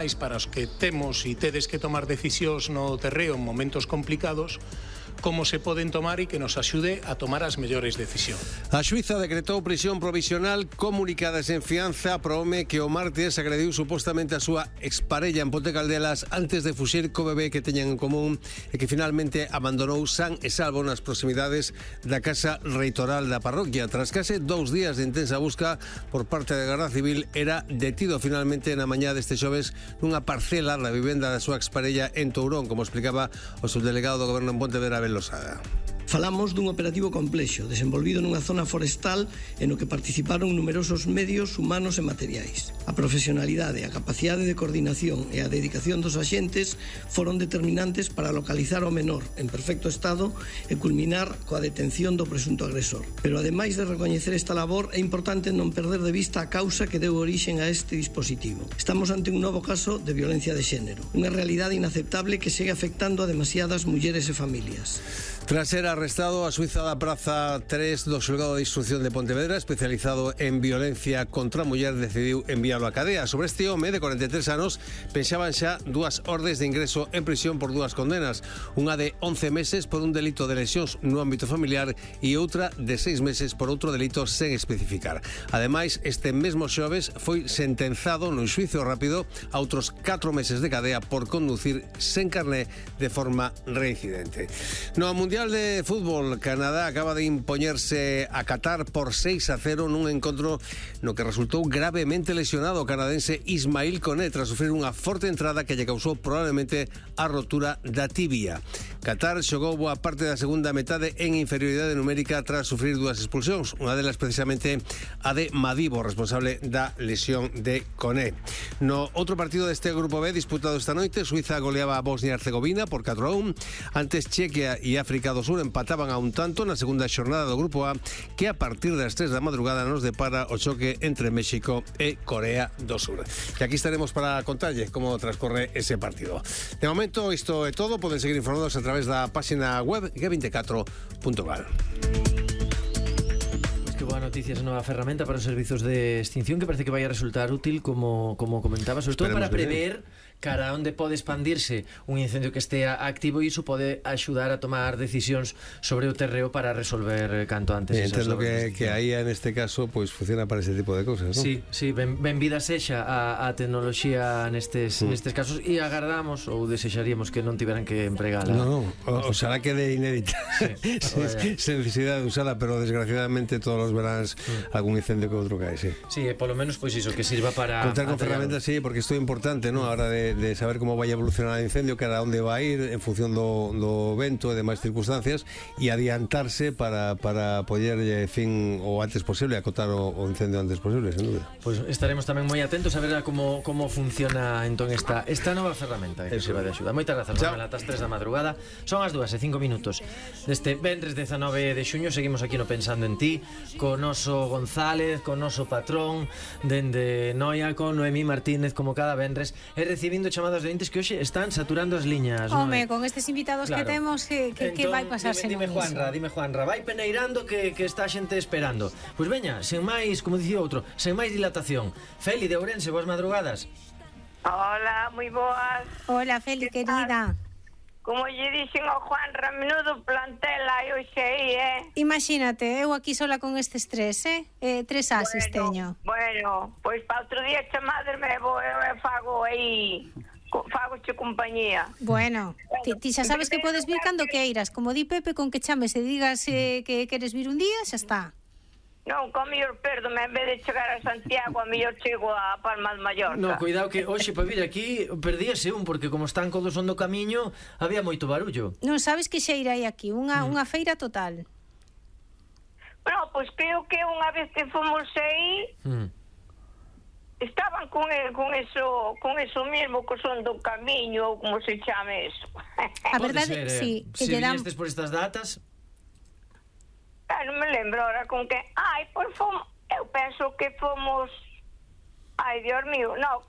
para os que temos e tedes que tomar decisións no terreo en momentos complicados, como se poden tomar e que nos axude a tomar as mellores decisións. A xuíza decretou prisión provisional comunicada sen fianza para o home que o martes agrediu supostamente a súa exparella en Ponte Caldelas antes de fuxir co bebé que teñan en común e que finalmente abandonou san e salvo nas proximidades da casa reitoral da parroquia. Tras case 2 días de intensa busca por parte da Garda Civil, era detido finalmente na mañá deste xoves nunha parcela da vivenda da súa exparella en Tourón, como explicaba o subdelegado do Goberno en Pontevedra, Losada. Falamos dun operativo complexo, desenvolvido nunha zona forestal en o que participaron numerosos medios humanos e materiais. A profesionalidade, a capacidade de coordinación e a dedicación dos axentes foron determinantes para localizar o menor en perfecto estado e culminar coa detención do presunto agresor. Pero ademais de recoñecer esta labor, é importante non perder de vista a causa que deu orixen a este dispositivo. Estamos ante un novo caso de violencia de xénero, unha realidade inaceptable que segue afectando a demasiadas mulleres e familias. Tras ser arrestado, a xuíza da Praza 3 do Xulgado de Instrucción de Pontevedra, especializado en violencia contra a muller, decidiu enviarlo a cadea. Sobre este home de 43 anos pensaban xa 2 ordes de ingreso en prisión por 2 condenas, unha de 11 meses por un delito de lesións no ámbito familiar e outra de 6 meses por outro delito sen especificar. Ademais, este mesmo xoves foi sentenzado nun xuízo rápido a outros 4 meses de cadea por conducir sen carné de forma reincidente. No Mundial de Fútbol, Canadá acaba de impoñerse a Qatar por 6-0 nun encontro no que resultou gravemente lesionado o canadense Ismail Koné tras sufrir unha forte entrada que lle causou probablemente a rotura da tibia. Qatar xogou boa parte da segunda metade en inferioridade numérica tras sufrir 2 expulsións, unha delas precisamente a de Madibo, responsable da lesión de Koné. No outro partido deste grupo B disputado esta noite, Suiza goleaba a Bosnia e Herzegovina por 4-1. Antes Chequia e África do Sur empataban a un tanto na segunda xornada do grupo A, que a partir das 3 da madrugada nos depara o choque entre México e Corea do Sur. E aquí estaremos para contarlle como transcorre ese partido. De momento isto é todo, poden seguir informados a través da página web g24.gal. Que boa noticia, esa nova ferramenta para os servizos de extinción que parece que vai a resultar útil como comentaba, sobre todo para prever cara a onde pode expandirse un incendio que estea activo, e iso pode axudar a tomar decisións sobre o terreo para resolver canto antes. Entendo que aí neste caso pois funciona para ese tipo de cousas, non? Sí, benvida sexa a tecnoloxía nestes casos, e agardamos ou desexaríamos que non tiveran que empregala. Non, oxalá quede inédita sen necesidade de usala, pero desgraciadamente todos os veráns algún incendio que outro cae, sí. Sí, polo menos pois iso, que sirva para contar con ferramentas, sí, porque isto é importante, non? A hora de saber como vai a evolucionar o incendio, cara a onde vai ir en función do vento e demais circunstancias, e adiantarse para poder fin o antes posible, acotar o incendio antes posible, sen dúbida. Pois estaremos tamén moi atentos a ver como funciona entón esta nova ferramenta que sirva de axuda. Moitas grazas, Manuel, ata as 3 da madrugada. Son as 2:05 deste venres 19 de xuño. Seguimos aquí no Pensando en Ti, co noso González, co noso patrón dende Noia, con Noemí Martínez como cada venres, e recibindo chamadas de ointes que hoxe están saturando as liñas. Home, con estes invitados que temos, que vai pasarse dime Juanra, vai peneirando que está a xente esperando. Pois veña, sen máis, como dicía outro, sen máis dilatación. Feli de Ourense, boas madrugadas. Hola, moi boas. Hola, Feli, querida. Como lle dixen ao Juanra, menudo plantel hai hoxe aí, Imagínate, eu aquí sola con estes 3, 3 ases teño. Bueno, pois para outro día chamadesme e fago aí, fagoche compañía. Bueno, ti xa sabes que podes vir cando queiras, como di Pepe, con que chames e digas que queres vir un día, xa está. Non, co mellor perdome, en vez de chegar a Santiago, a mellor chego a Palma de Mallorca. No, cuidado que hoxe para vir aquí perdíase porque como están todos do camiño, había moito barullo. Non sabes que xeira hai aquí, unha feira total. Bueno, pois creo que unha vez que fomos aí, estaban con eso mismo, que son do camiño, ou como se chame eso. A verdade, sí. Se viñestes por estas datas... Non me lembro ahora con que... pois fomos... Eu penso que fomos... Dios mío, non.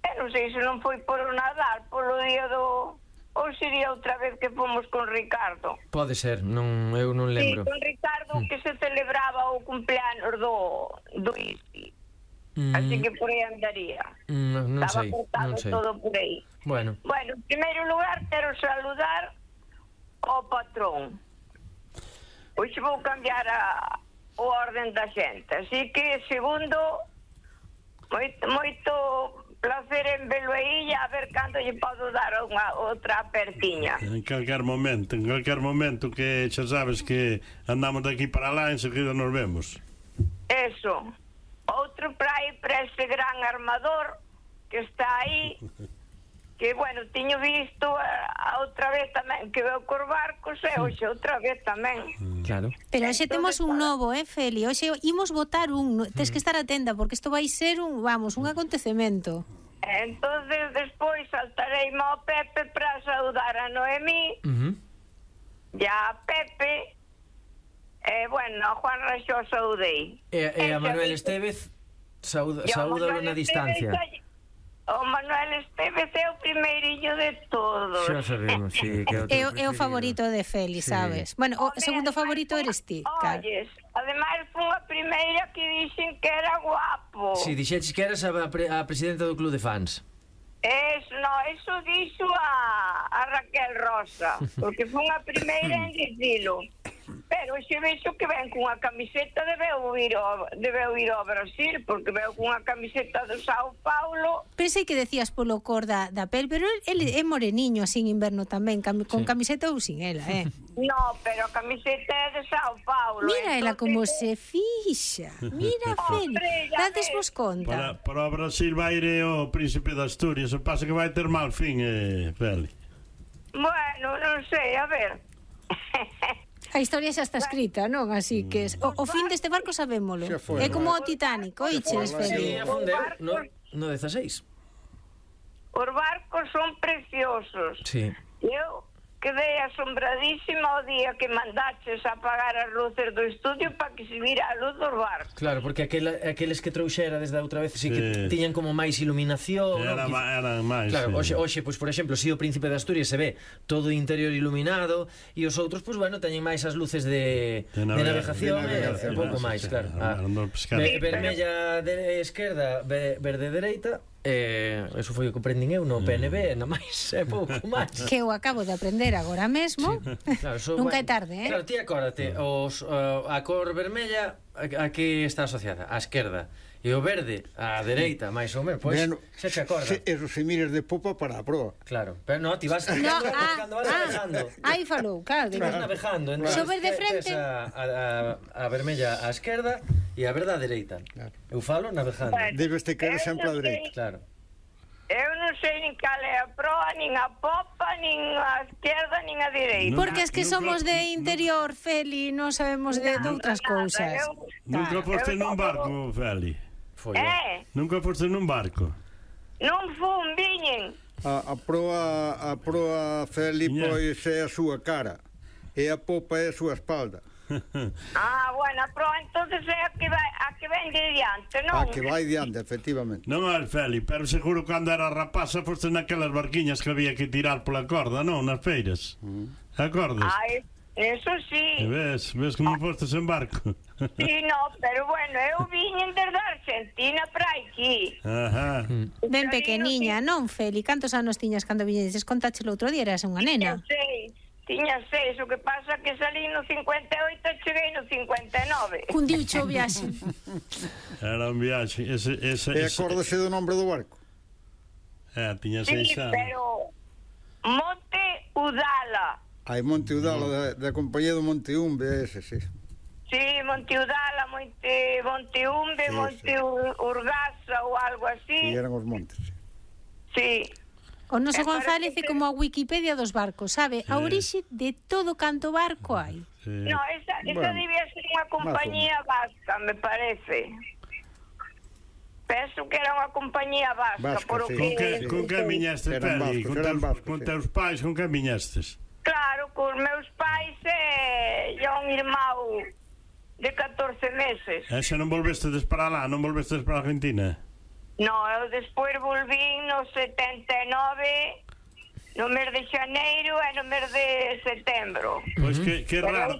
Eu non sei se non foi por o Nadal, polo día do... Ou sería outra vez que fomos con Ricardo. Pode ser, eu non lembro. Sí, con Ricardo, que se celebraba o cumpleanos do ISI. Así que por aí andaría. Non Estaba sei, cortado non sei. todo por aí. Bueno, Bueno, en primeiro lugar quero saludar ao patrón. Hoxe vou cambiar o orden da xente. Así que, segundo, moito placer en velo aí e a ver cando lle podo dar outra apertiña. En calquer momento que xa sabes que andamos de aquí para lá, enseguida nos vemos. Eso. Outro para ese gran armador que está aí, que, bueno, tiño visto a outra vez tamén que veo cos barcos e hoxe outra vez tamén. claro. Pero hoxe temos un novo, Feli. Hoxe imos votar un. Tes que estar atenta porque isto vai ser un acontecemento. Entonces despois saltarei ao Pepe para saudar a Noemí e a Pepe. Bueno, a Juan Raxó saudei. E a Manuel Estevez saúdalo na distancia. O Manuel Estevez é o primeirillo de todos. Xa sabemos, sí, que É o favorito de Feli, sabes? Bueno, o segundo favorito eres ti, claro. Olles, ademais foi a primeira que dixen que era guapo. Si, dixeches que eras a presidenta do club de fans. Eso dixo a Raquel Rosa, porque foi a primeira en dicilo. Pero xe vexo que ven cunha camiseta debeu ir ao Brasil, porque veo cunha camiseta do Sao Paulo. Pensei que decías polo cor da pel, pero ele é moreniño así en inverno tamén, con camiseta ou sin ela, No, pero a camiseta é de Sao Paulo. Mira ela como se fixa. Mira, Feli, dades vos conta. Para o Brasil vai ir o príncipe de Asturias, o pasa que vai ter mal fin, Feli. Bueno, non sei, a ver. A historia xa está escrita, non? Así que o fin deste barco sabémolo. É como o Titanic, oiches, Feli? Sí, afundeu no 16. Os barcos son preciosos. Sí. Eu quedei asombradísima o día que mandaches apagar as luces do estudio para que se vira a luz dos barcos. Claro, porque aqueles que trouxera desde a outra vez sí que tiñan como máis iluminación. Era máis. Claro, hoxe, pois, por exemplo, si o Príncipe de Asturias se ve todo o interior iluminado e os outros, pois, bueno, teñen máis as luces de navegación e un pouco máis, claro. Vermella de esquerda, verde dereita. Eso foi o que aprendín eu no PNB, na máis, é pouco máis. Que eu acabo de aprender agora mesmo. Claro, Nunca é tarde, Claro, ti acórdate, a cor vermella a que está asociada? A esquerda. E o verde, a dereita, máis ou menos, pois, xa te acorda. Eso se mires de popa para a proa. Claro, pero no, ti vas cando vas navegando. Aí falou, claro. Vas navegando, entón Sobre de frente. a vermella á esquerda e a verde á dereita. Eu falo navegando. Debes te caer sempre a dereita. Claro. Eu non sei nin cal é a proa, nin a popa, nin a esquerda, nin a direita. Porque es que somos de interior, Feli, non sabemos de outras cousas. Nunca foste nun barco, Feli? Nunca foste nun barco? Non fun, viñen. A proa Feli, pois é a súa cara e a popa é a súa espalda. Bueno, a proa entonces é a que ven de diante, non? A que vai diante, efectivamente. Non é Feli, pero seguro cando era rapaza foste naquelas barquiñas que había que tirar pola corda, non? Nas feiras. Acordas? Eso sí. Ves como fostes en barco. Sí, no, pero bueno, eu viñen desde Argentina para aquí. Ajá. Ben pequeniña, non, Feli? Cantos anos tiñas cando viñedes? Contáchelo outro día, eras unha nena. Tiña 6, o que pasa que salí no 58 e cheguei no 59. Cundiuche o viaxe. Era un viaxe. E acórdase do nombre do barco? Tiña 6 anos. Pero Monte Udala. Hai Monte Udala da compañía do Monte Umbe, ese, sí. Sí, Monte Udala, Monte Umbe, Monte Urgaza ou algo así. Sí, eran os montes. Sí. O noso González é como a Wikipedia dos barcos, sabe? A orixe de todo canto barco hai. No, esa debía ser unha compañía vasca, me parece. Penso que era unha compañía vasca. Con que viñestes, Feli? Con teus pais, con que viñestes? Claro, con meus pais e un irmão de 14 meses. E xa non volvestes para lá, non volvestes para Argentina? No, eu despois volvín no 79, no mes de xaneiro e no mes de setembro. Pois que raro.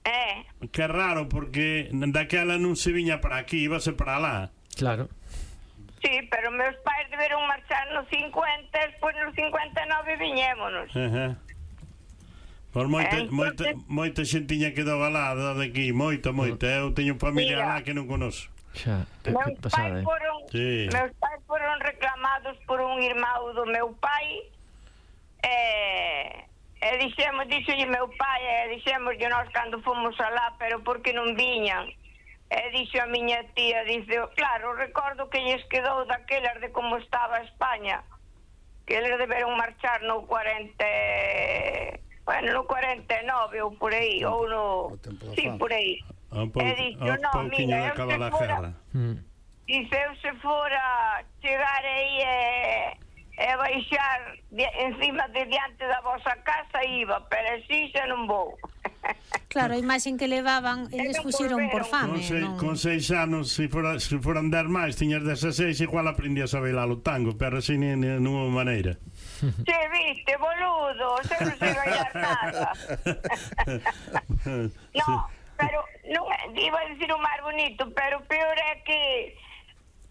É Que é raro, porque daquela non se viña para aquí, íbase para lá. Claro. Sí, pero meus pais deberon marchar nos 50, despois nos 59 viñémonos. Por moita xentiña quedou alada de aquí, moita. Eu teño familia lá que non conozco. Xa, Meus pasada, pais foron reclamados por un irmão do meu pai e dixémoslle meu pai dixémoslle nós cando fomos alá, pero porque non viñan. E dixo a miña tía, dice, claro, recordo que lles quedou daquelas de como estaba España, que eles deberon marchar no 49 ou por aí, ou no... Sí, por aí. E dixo, non, mira, eu se fora chegar aí e baixar encima de diante da vosa casa iba, pero así xa non vou. Claro, a imaxen que levaban, eles fuxiron por fame. Con 6 anos, se foran 10 máis, tiñas 16, igual aprendías a bailar o tango, pero así non houve maneira. Che viste, boludo, se non sei bailar nada. No, pero non iba a dicir o máis bonito, pero o peor é que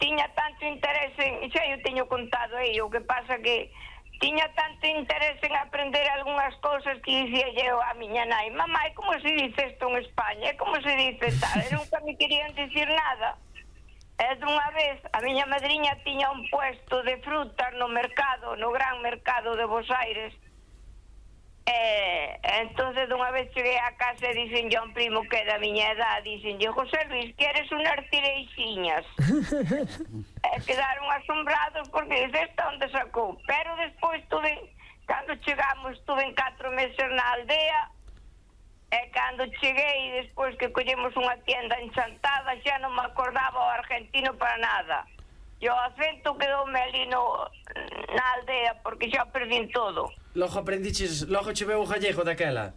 tiña tanto interese xa eu teño contado aí, o que pasa que tiña tanto interese en aprender algunhas cousas que dicía eu a miña nai, mamá, como se dice isto en España, como se dice tal, e nunca me querían dicir nada. E dunha vez a miña madriña tiña un puesto de frutas no mercado, no gran mercado de Bos Aires. Entonces dunha vez cheguei a casa e dicen yo a un primo que é da miña edad, dicen yo, José Luis, queres unhas tireixiñas? Quedaron asombrados porque dice, esta onde sacou? Pero despois cando chegamos, estuve en 4 meses na aldea, e cando cheguei, despois que collemos unha tienda enchantada, xa non me acordaba o argentino para nada. E o acento quedoume ali na aldea, porque xa perdín todo. Logo che veu o gallego daquela.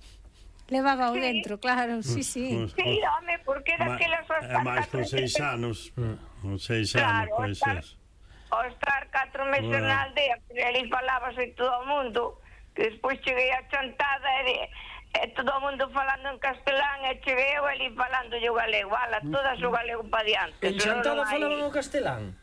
Levaba o dentro, claro, sí. Sí, home, porque daquelas é máis con 6 anos. Con 6 anos, pois é. Ao estar 4 meses na aldea, ali falábase todo o mundo, que despois cheguei a Chantada e todo o mundo falando en castelán, e cheguei eu ali falando o galego, todas o galego pa diante. En Chantada falaban o castelán?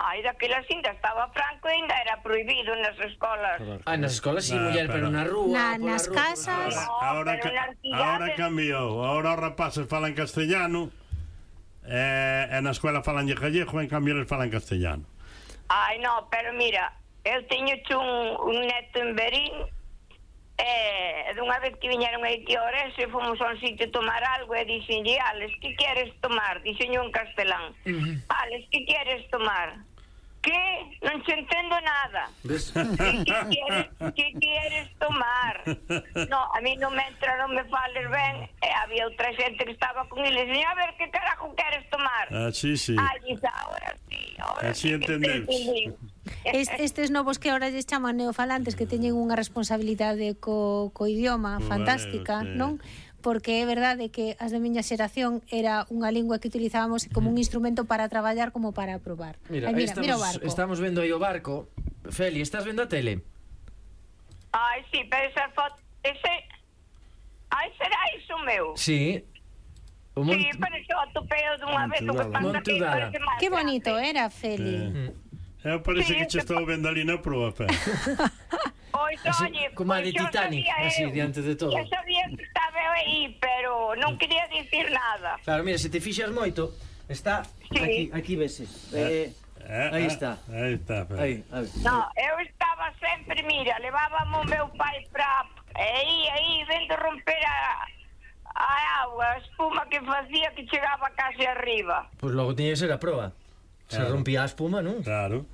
Ai, daquela ainda estaba Franco e ainda era prohibido nas escolas. Nas escolas sí, muller, pero na rúa, nas casas. Ahora cambiou. Ahora os rapaces falan castellano e na escola falan gallego, en cambio eles falan castellano. Ai, no, pero mira, eu teño un neto en Berín e dunha vez que viñeron aí que Ourense fomos a un sitio a tomar algo e dixenlle, Alex, que queres tomar? Dixenlle en castelán. Alex, que queres tomar? Que? Non se entendo nada. Que queres tomar? No, a mí non me entra, non me fales ben. E había outra xente que estaba con eles e a ver, que carajo queres tomar? Sí. Ahora sí entendemos. Estes novos que ahora lles chaman neofalantes, que teñen unha responsabilidade co idioma fantástica, non? Porque é verdade que as de miña xeración era unha lingua que utilizábamos como un instrumento para traballar como para probar. Mira o barco. Estamos vendo aí o barco. Feli, estás vendo a tele? Ai, sí, pero esa foto... Ai, será iso meu? Sí. Sí, pero iso atopeo dunha vez o que pasa que... Que bonito era, Feli. Parece que che estou vendo ali na proa, Feli. Como a de Titanic, así, diante de todo. Eu sabía que estaba aí, pero non quería dicir nada. Claro, mira, se te fixas moito, está aquí veses. Aí está. Aí está, aí. No, eu estaba sempre, mira, levábamos o meu pai para aí vendo romper a agua, a espuma que facía que chegaba case arriba. Pois logo tiña que ser a proa. Se rompía a espuma, non? Claro.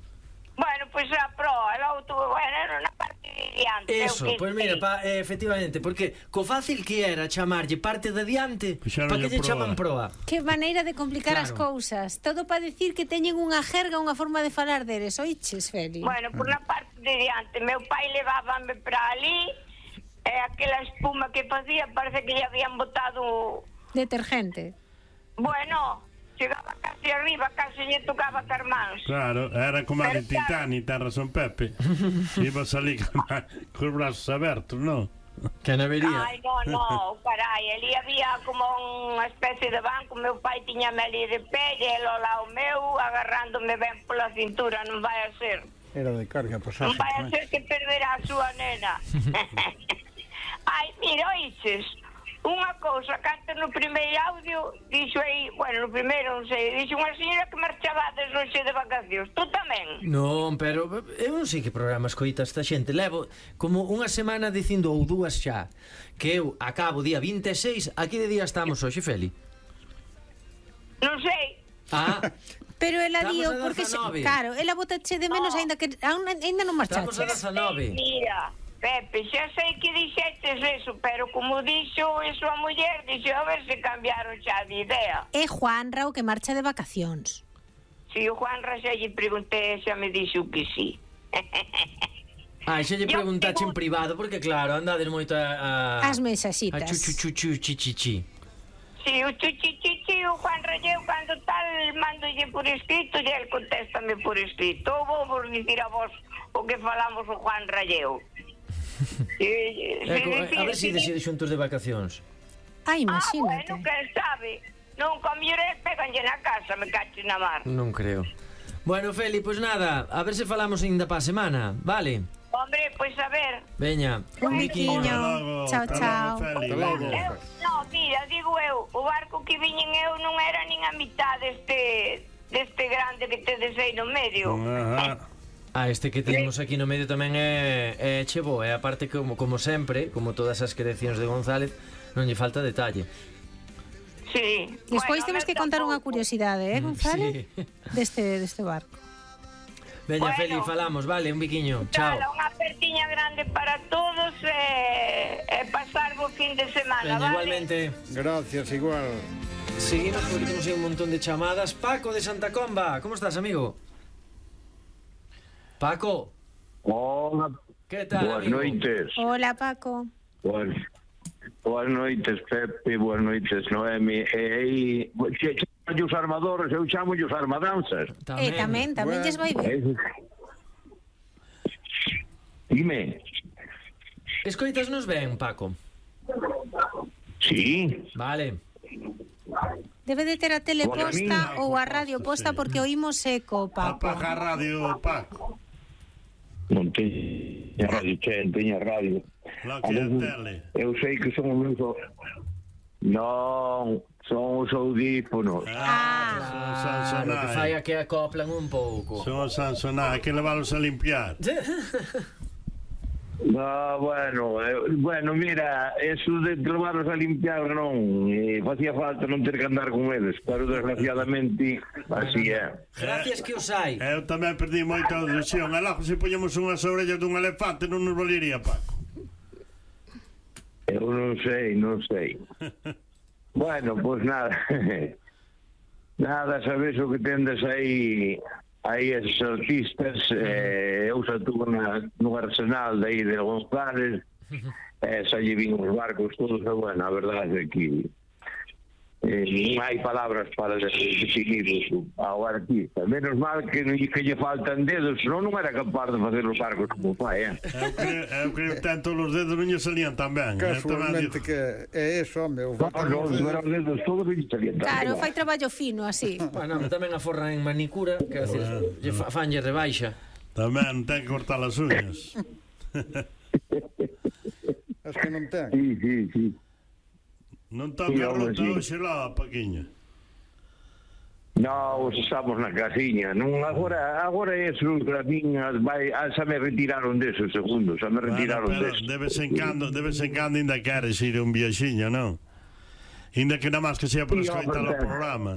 Bueno, pois a proa, era na parte de diante. Eso, pois mira, efectivamente, porque co fácil que era chamarlle parte de diante, para que lle chaman proa. Que maneira de complicar as cousas. Todo para decir que teñen unha jerga, unha forma de falar deles, oiches, Feli? Bueno, por na parte de diante, meu pai levábame para ali, e aquela espuma que facía parece que lle habían botado detergente. Bueno, chegaba casi arriba, casi lle tocaba as mans. Claro, era como a de Titanic, ten razón Pepe. Iba a salir con os brazos abertos, non? Que non vería. Ai, no, carai, ali había como unha especie de banco, meu pai tiñame ali de pé e el ao lado meu agarrándome ben pola cintura, non vai a ser. Era de carga pasaje. Non vai a ser que perderá a súa nena. Ai, mira, oíches, unha cousa, canta no primeiro audio, dixo aí, bueno, no primeiro non sei, dixo unha señora que marchabades hoxe de vacacións, tú tamén? Non, pero eu non sei que programa escoita esta xente. Levo como unha semana dicindo ou dúas xa que eu acabo día 26. A que día estamos hoxe, Feli? Non sei. Ah, Pero ela Estamos dio, a porque, 19. claro, ela botache de menos, aínda que aínda non estamos a marchaches. 19. Mira, Pepe, xa sei que dixetes eso, pero como dixo eso a muller, dixo a ver se cambiaron xa de idea. É Juanra o que marcha de vacacións. Si o Juan xa lle preguntei, xa me dixo que sí. Ah, xa lle preguntache en privado, porque claro, andades moito a As mensaxitas. a chuchuchuchu. Si, o chichichichi, o Juan Ralleu, cando tal, mandolle por escrito e el contéstame por escrito. Ou vou vos dicir a vos o que falamos o Juan Ralleu. A ver se decides xuntos de vacacións. Ah, imagínate. Bueno, quen sabe. Non, con millores peganlle na casa, me caches na mar. Non creo. Bueno, Feli, pois nada, a ver se falamos ainda pa semana, vale? Hombre, pois a ver. Veña, Un biquiño. Chao, chao. No, mira, digo eu, o barco que viñen eu non era nin a mitad deste grande que tedes aí no medio. Ah, este que temos aquí no medio tamén é chebo, e aparte como sempre, como todas as creacións de González, non lle falta detalle. Sí. Despois Bueno, temos que contar unha curiosidade, González? Sí. Deste barco. Veña, Bueno. Feli, falamos, vale, un biquiño. Chao. Unha apertiña grande para todos e pasar bo fin de semana, Veña, vale? igualmente. Gracias, igual. Seguimos porque temos aí un montón de chamadas. Paco de Santa Comba, ¿cómo estás, amigo? Paco, Hola, ¿qué tal, boas amigo? noites. Hola, Paco. Boas noites, Pepe, boas noites, Noemi. E aí, os armadores, eu chamo os armadanzas. Tamén lles vai ben. Dime. Escoitasnos ben, Paco. Sí. Vale. Debe de ter a tele Bueno, a min- posta ou a radio posta porque oímos eco, Paco. Apaga a radio, Paco. Non teña radio, teña radio. Lá que é a tele. Eu sei que son os meus... Non, son os audífonos. Son Claro, que fai Sansonai. a que acoplan un pouco. Son Sansonai, hai que leválos a limpiar. No, bueno, mira, eso de levarlos a limpiar non, facía falta non ter que andar con eles, pero desgraciadamente así é. Gracias que os hai. Eu tamén perdi moita audición. E logo se poñemos unhas orellas dun elefante non nos valería, Paco. Eu non sei. Bueno, pois nada. Nada, sabes o que tendes aí esos artistas, eu xa tuve no Arsenal de aí de González, xa lle vin os barcos todos, e bueno, a verdade é que non hai palabras para definir ao artista. Menos mal que lle faltan dedos, senón non era capaz de facer os barcos como fai, Eu creo que ten todos os dedos non lle salían tan ben. Casualmente que é eso, meu. Non era os dedos todos que lle salían tan Claro, ben. fai traballo fino así. Bueno, tamén aforran en manicura, quero decir, lle fanlle rebaixa. Tamén ten que cortar as uñas. Es que non ten. Sí. Non toca a ruta hoxe lá, Paquiño. No, estamos na casiña. Non, agora eso, as miñas, xa me retiraron desos segundos, xa me retiraron Pero desos. de vez en cando ainda queres ir un viaxiño, non? Ainda que nada máis que sea para Sí, escoitar o hombre. programa.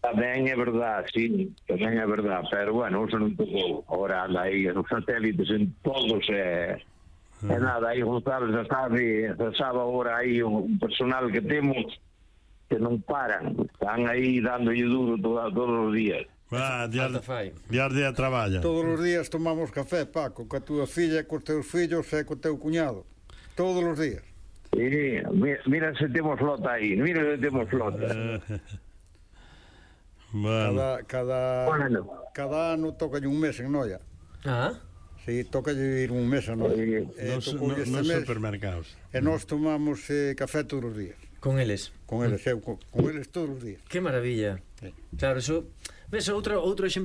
Tamén é verdad, sí, tamén é verdad, pero bueno, eso non tocou. Agora anda aí, os satélites en todos, e nada, aí González xa sabe agora aí un personal que temos que non paran, están aí dándolle duro todos os días. Va, Falta fai. dias día traballa. Todos os días tomamos café, Paco, coa túa filla, cos teus fillos e co teu cuñado. Todos os días. Sí, mira se temos flota aí, mira se temos flota. Bueno, Cada Bueno. ano toca un mes en Noia. Ah, Sí, toca ir un mes a nós. Nos supermercados. E nós tomamos café todos os días. Con eles? Con eles, eu con eles todos os días. Que maravilla. Claro, eso... Ves, outro exemplo